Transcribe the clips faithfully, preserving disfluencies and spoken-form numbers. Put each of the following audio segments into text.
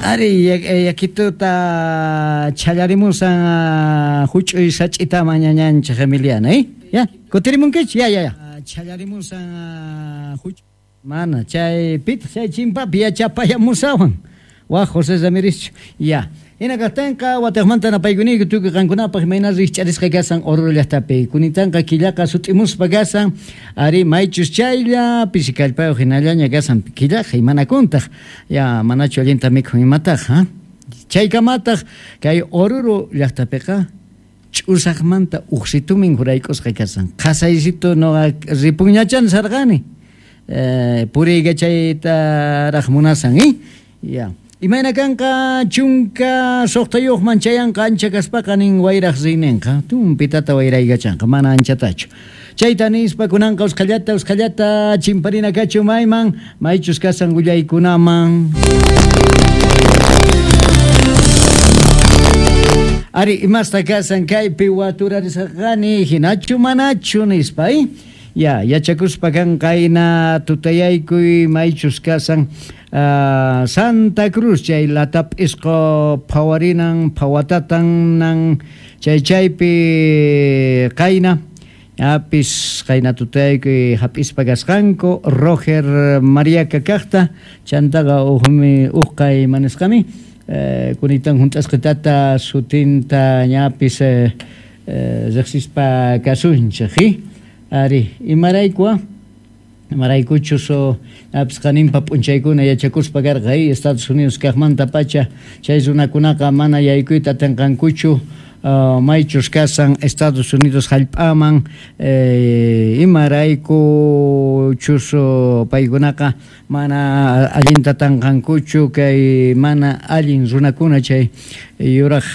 Ari yakituta challarimusan huch'uy sach'ita mañañanchik Emiliana, eh? Ya, kutirimunkichik, ya ya ya. Challarimusan huch mana chay pitaq chay chimpapi yachapayamusawan. Waj José Ramírez, ya. Hina kaqtinqa wataqmanta napaykuniyku tukuy qankunapaq imayna rikch'arisqa kasan Oruro llaqtapi. Kunitanqa killaqa sut'imuspa kasan, ari maychus chaylla pisi kallpayuq hinallaña kasan killaqa imanakuntaq. Ya manachu allinta mikhun imataq, ha? Chaykamataq kay Oruro llaqtapiqa ch'usaqmanta uqsitumin hurayk'usqa kasan. Qhasaysitu nuqa ripunñachan sarqani. Eh, puriykachaytaraq munasan, eh? Ya. Imayna kanqa chunka suqtayuqman chayanqa ancha kaspaqa nin wayraq riyninqa tumpitata wayraykachanqa mana anchatachu. Chayta nispa kunanqa usqhallata usqhallata chimparina kachu mayman maychus kasan willaykunaman. Ari imasta kasan kaypi waturarisqani hinachu manachu nispa, eh? Ya, yachakuspa kanqayna tutayaykuy maychus kasan Uh, Santa Cruz chay latap'isqo phawarinan phawatatanan chay chaypi qayna apis qayna tutaykuy hap'ispa kasqanku Roger Mariaca kaqta chantaqa uqmi uqay manisqami eh, kunitan hunt'asqitata sutinta ñapis eh, eh, riqsispa kasunchik, eh? Ari imarayku Maraykuchus apis qaninpa p'unchaykuna yachakuspa karqa, eh? Estados Unidos kaqmanta pacha chay runakunaqa mana yaykuyta atinqankuchu uh, maychus kasan Estados Unidos hallp'aman eh, imaraykuchus paykunaqa mana allinta tanqankuchu kay mana allin runakuna chay yuraq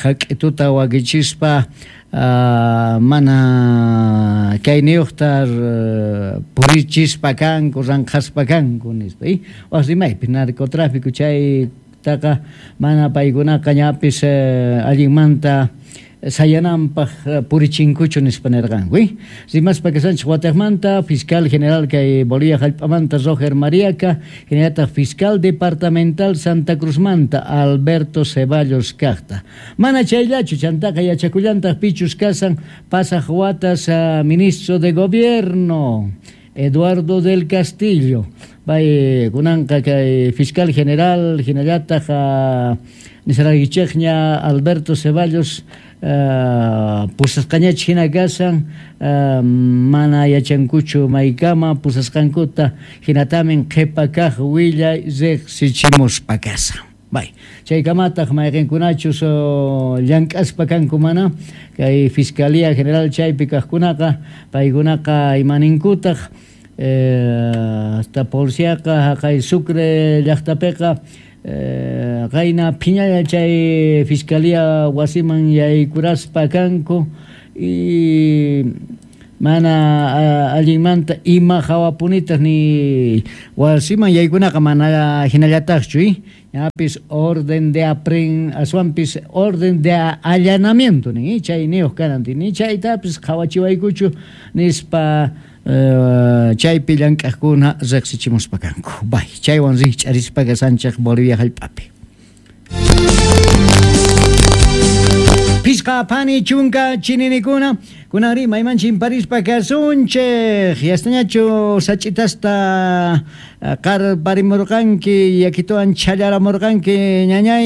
hak'ituta wakichispa Uh, mana kayniyuqta uh, purichispa kanku ranqhaspa kanku nispa, eh? Waq rimaypi narcotráfico chaytaqa mana paykunaqa ñapis uh, allinmanta sayananpaq purichinkuchu nispa nirqanku, eh? Rimaspa kasanchik wataqmanta fiscal general kay Bolivia hallp'amanta Roger Mariaca, hinallataq fiscal departamental Santa Cruzmanta Alberto Ceballos kaqta. Mana chayllachu chantaqa yachakullantaq pichus kasan pasaq watas uh, ministro de gobierno Eduardo del Castillo. Bay kunanqa kay fiscal general hinallataq uh, nisaraykichikña Alberto Ceballos Uh, pusasqañachik hina kasan uh, mana yachankuchu maykama pusasqankuta hinatamin qhipa kaq willay riqsichimuspa kasan. Bay chaykamataq mayqinkunachus uh, llank'aspa kanku mana kay Fiscalía General chaypi kaqkunaqa paykunaqa imaninkutaq eh, hasta policiaqa haqay Sucre llaqtapiqa Eh, qayna phiñalla chay fiscalía wasiman yaykuraspa kanku y mana allinmanta ima hawapunitaq ni wasiman yaykunaqa mana hinallataqchu, eh? Ñapis orden de apren aswanpis orden de allanamiento ni chayniyuq kanan ni chaytapis qhawachiwaykuchu nispa Uh, chaypi llank'aqkuna riqsichimuspa kanku. Bay, chaywan rikch'arispa kasanchik Bolivia hallp'api. Pisqa phani chunka chininikuna kunanri mayman chimparispa kasunchik yastañachu sach'itasta qarparimurqanki yakituwan chhallaramurqanki ñañay.